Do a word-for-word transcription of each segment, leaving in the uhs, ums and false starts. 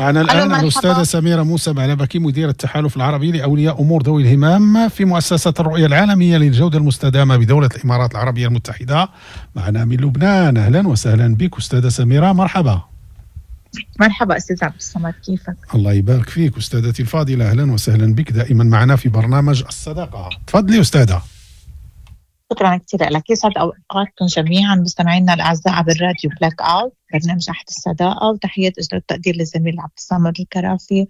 معنا الآن الأستاذة سميرة موسى بعلبكي، مدير التحالف العربي لأولياء أمور ذوي الهمم في مؤسسة الرؤية العالمية للجودة المستدامة بدولة الإمارات العربية المتحدة، معنا من لبنان. أهلا وسهلا بك أستاذة سميرة، مرحبا. مرحبا أستاذ عبد الصمد، كيفك؟ الله يبارك فيك أستاذتي الفاضلة، أهلا وسهلا بك دائما معنا في برنامج الصداقة. تفضلي أستاذة. شكرا كثير لك، يسعد اوقاتكم جميعا مستمعينا الاعزاء عبر راديو بلاك اوت، برنامج عهد الصداقه، وتحيات اجر التقدير للزميل عبد الصمد الكرافي.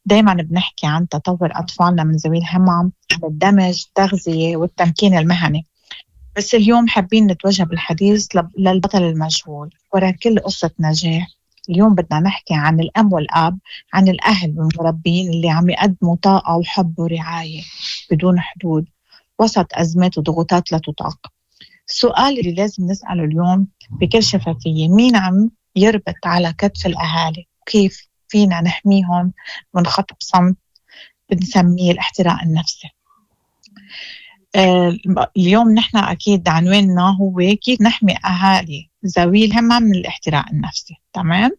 دائما بنحكي عن تطور اطفالنا من ذوي الهمم، عن الدمج، التغذيه والتمكين المهني، بس اليوم حابين نتوجه بالحديث للبطل المجهول وراء كل قصه نجاح. اليوم بدنا نحكي عن الأم والأب، عن الأهل والمربين اللي عم يقدموا طاقة وحب ورعاية بدون حدود وسط أزمات وضغوطات لا تطاق. السؤال اللي لازم نسأله اليوم بكل شفافية، مين عم يربط على كتف الأهالي؟ وكيف فينا نحميهم من خطب صمت بنسميه الاحتراق النفسي؟ آه اليوم نحن أكيد عنواننا هو كيف نحمي أهالي ذوي الهمم من الاحتراق النفسي. تمام؟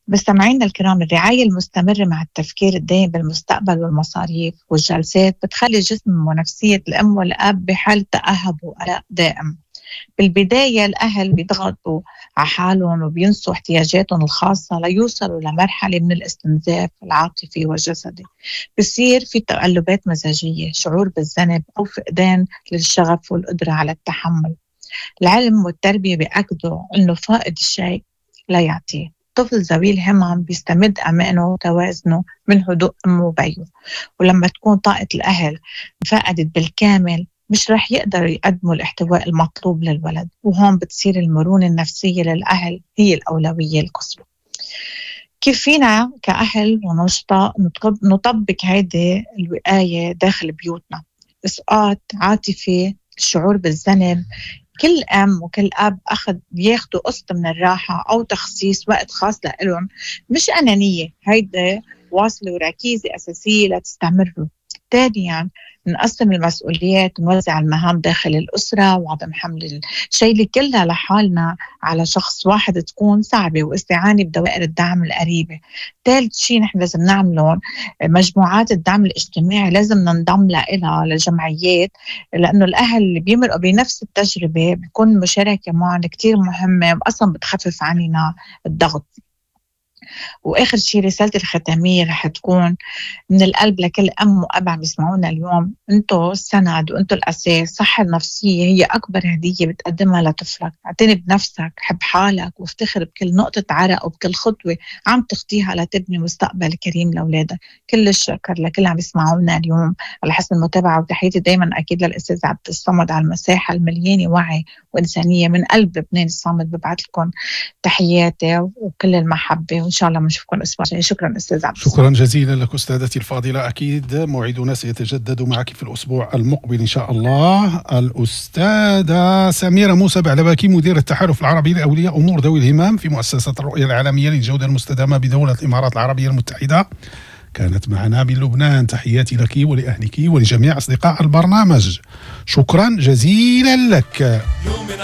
مستمعينا الكرام، الرعاية المستمرة مع التفكير الدائم بالمستقبل والمصاريف والجلسات بتخلي جسم ونفسية الأم والأب بحالة تأهب وقلق دائم. بالبداية الأهل بيضغطوا على حالهم وبينسوا احتياجاتهم الخاصة ليوصلوا لمرحلة من الاستنزاف العاطفي والجسدي. بصير في تقلبات مزاجية، شعور بالذنب أو فقدان للشغف والقدرة على التحمل. العلم والتربية بيأكدوا أنه فائد الشيء لا يعطيه. طفل ذوي الهمم بيستمد أمانه وتوازنه من هدوء أمه وبيه، ولما تكون طاقة الأهل فقدت بالكامل مش رح يقدروا يقدموا الاحتواء المطلوب للولد، وهون بتصير المرونة النفسية للأهل هي الأولوية القصوى. كيف فينا كأهل ونشطاء نطبق هيدي الوقاية داخل بيوتنا؟ إسقاط عاطفي، الشعور بالذنب، كل أم وكل أب أخذ بياخدوا قسط من الراحة أو تخصيص وقت خاص لإلهم، مش أنانية، هيدا واصلة وركيزة أساسية لتستمروا. ثانيا نقسم المسؤوليات ونوزع المهام داخل الأسرة، وعدم حمل الشيء كلها لحالنا على شخص واحد تكون صعبة، واستعانة بدوائر الدعم القريبة. ثالث شيء نحن لازم نعمله مجموعات الدعم الاجتماعي، لازم ننضم لها لجمعيات، لأنه الأهل اللي بيمرقوا بنفس التجربة بيكون مشاركة معهم كتير مهمة، وأصلا بتخفف عننا الضغط. وآخر شيء رسالتي الختامية رح تكون من القلب لكل أم وأب عم يسمعونا اليوم، أنتو السند وأنتو الأساس. الصحة النفسية هي أكبر هدية بتقدمها لطفلك. اعتني بنفسك، حب حالك، وافتخر بكل نقطة عرق وبكل خطوة عم تخطيها لتبني مستقبل كريم لأولادك. كل الشكر لكل عم يسمعونا اليوم على حسن المتابعة، وتحياتي دايما أكيد للأستاذ عبد الصمد على المساحة المليانة وعي وإنسانية من قلب لبنان الصامد. ببعث لكم تحياتي وكل المحبة، وإن شاء الله بنشوفكم الأسبوع الجاي. شكرا أستاذ عبد. شكرا جزيلا لك أستاذتي الفاضلة، أكيد موعدنا سيتجدد معك في الأسبوع المقبل إن شاء الله. الأستاذة سميرة موسى بعلبكي، مدير التحالف العربي لأولياء أمور ذوي الهمم في مؤسسة الرؤية العالمية للجودة المستدامة بدولة الإمارات العربية المتحدة، كانت معنا من لبنان. تحياتي لك ولأهلك ولجميع أصدقاء البرنامج، شكرا جزيلا لك.